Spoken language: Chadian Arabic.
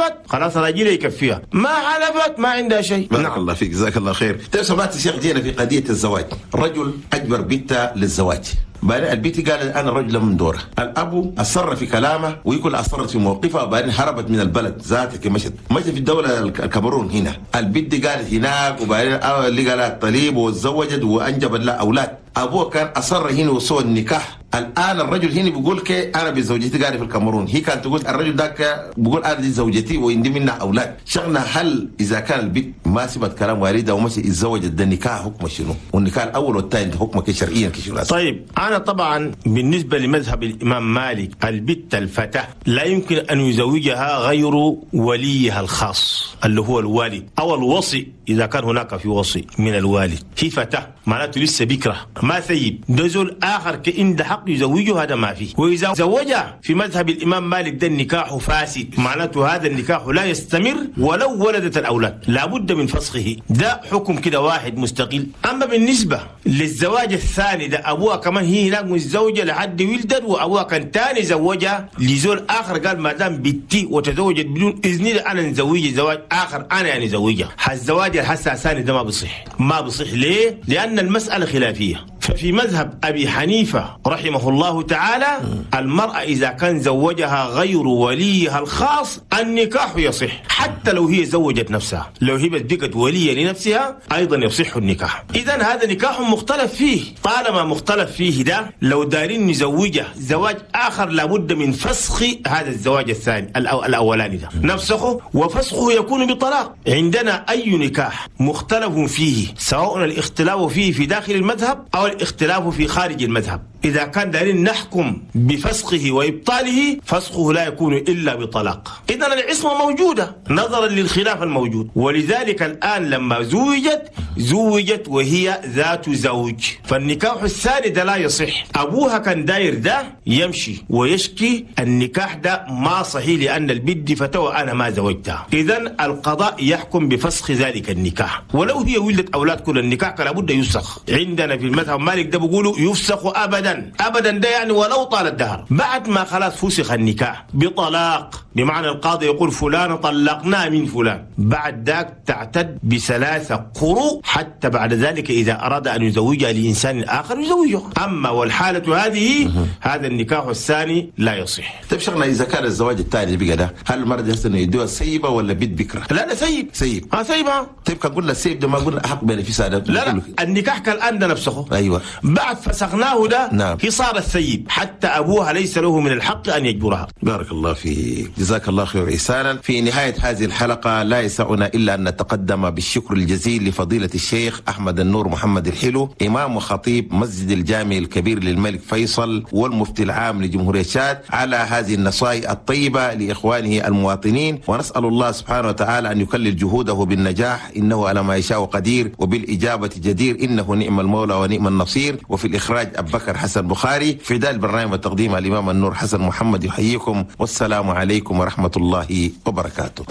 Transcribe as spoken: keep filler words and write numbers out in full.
حلفت خلاص راجلها يكفيها، ما حلفت ما عندها شيء. بارك نعم. الله فيك، جزاك الله خير. طيب سمعت الشيخ، جينا في قضية الزواج، رجل أجبر بنته للزواج، بعدين البنت قالت انا رجل من دوره، الابو اصر في كلامه ويقول اصرت في موقفها، وبعدين هربت من البلد ذاتك، مشت مشت في الدولة الكاميرون. هنا البنت قالت هناك، وبعدين اللي قالت طليب وتزوجت وانجبت لها اولاد، ابوه كان اصر هنا وسوى النكاح. الان الرجل هنا بيقول كي انا بزوجتي قاعدة في الكاميرون، هي كانت تقول الرجل ذاك بيقول انا دي زوجتي وعندي منها اولاد. شغنا هل اذا كان البنت ما سمعت كلام والدها ومشي اتزوجت، ده النكاح حكمه شنو؟ والنكاح الاول والثاني حكمه شرعيا كشنو؟ طيب انا طبعا بالنسبة لمذهب الامام مالك، البت الفتاة لا يمكن ان يزوجها غير وليها الخاص اللي هو الوالد او الوصي اذا كان هناك في وصي من الوالد. هي فتاة معناته لسه بكره ما ثيب، ده زول اخر كإن ده حق يزوجه هذا ما فيه. واذا زوجها في مذهب الامام مالك ده النكاح فاسد، معناته هذا النكاح لا يستمر ولو ولدت الاولاد، لابد من فسخه. ده حكم كده واحد مستقل. اما بالنسبة للزواج الثاني ده ابوها كمان هي هناك متزوجة لحد ولدت، وابوها كان ثاني زوجها لزول اخر، قال ما دام بنتي وتزوجت بدون اذني انا نزوجها زواج اخر، انا يعني زوجها. الزواج الحسا الثاني ده ما بصح، ما بصح ليه؟ لان المسالة خلافية. ففي مذهب أبي حنيفة رحمه الله تعالى المرأة إذا كان زوجها غير وليها الخاص النكاح يصح، حتى لو هي زوجت نفسها، لو هي بقت ولية لنفسها أيضا يصح النكاح. إذن هذا نكاح مختلف فيه، طالما مختلف فيه ده لو دارين نزوجه زواج آخر لابد من فسخ هذا الزواج الثاني الأولاني ده، نفسخه، وفسخه يكون بطلاق. عندنا أي نكاح مختلف فيه، سواء الاختلاف فيه في داخل المذهب أو الاختلاف في خارج المذهب، إذا كان دارين نحكم بفسخه وإبطاله فسخه لا يكون إلا بطلاق. إذن العصمة موجودة نظرا للخلاف الموجود، ولذلك الآن لما زوجت زوجت وهي ذات زوج، فالنكاح الثاني ده لا يصح. أبوها كان داير ده يمشي ويشكي النكاح ده ما صحيح لأن البد فتوى أنا ما زوجتها. إذن القضاء يحكم بفسخ ذلك النكاح، ولو هي ولدت أولاد كل النكاح لابد يفسخ. عندنا في المذهب مالك ده بيقولوا يفسخ أبدا أبدا، ده يعني ولو طال الدهر. بعد ما خلاص فسخ النكاح بطلاق، بمعنى القاضي يقول فلان طلقنا من فلان، بعد ذاك تعتد بثلاثة قروء حتى بعد ذلك إذا أراد أن يزوجها لإنسان آخر يزوجه. أما والحالة هذه هذا النكاح الثاني لا يصح. طيب شغلنا إذا كان الزواج الثاني بقى ده، هل المرأة يحسن يدوها سيبة ولا بيت بكرة؟ لا لا سيب سيب اه سيبها. طيب كان قلنا السيب ده ما قلنا أحق بنفسها ده. لا لا النكاح كالآن ده نفسه. أيوة بعد فسخناه ده نعم. هي صار السيب، حتى أبوها ليس له من الحق أن يجبرها. بارك الله فيك، جزاك الله خير إحسانا. في نهاية هذه الحلقة لا يسعنا إلا أن نتقدم بالشكر الجزيل لفضيلة الشيخ أحمد النور محمد الحلو، إمام وخطيب مسجد الجامع الكبير للملك فيصل والمفتي العام لجمهورية تشاد، على هذه النصائح الطيبة لإخوانه المواطنين، ونسأل الله سبحانه وتعالى أن يكلل جهوده بالنجاح، إنه على ما يشاء قدير وبالإجابة جدير، إنه نعم المولى ونعم النصير. وفي الإخراج أبو بكر حسن بخاري، في دار البرنامج والتقديم الإمام النور حسن محمد يحييكم، والسلام عليكم ورحمة الله وبركاته.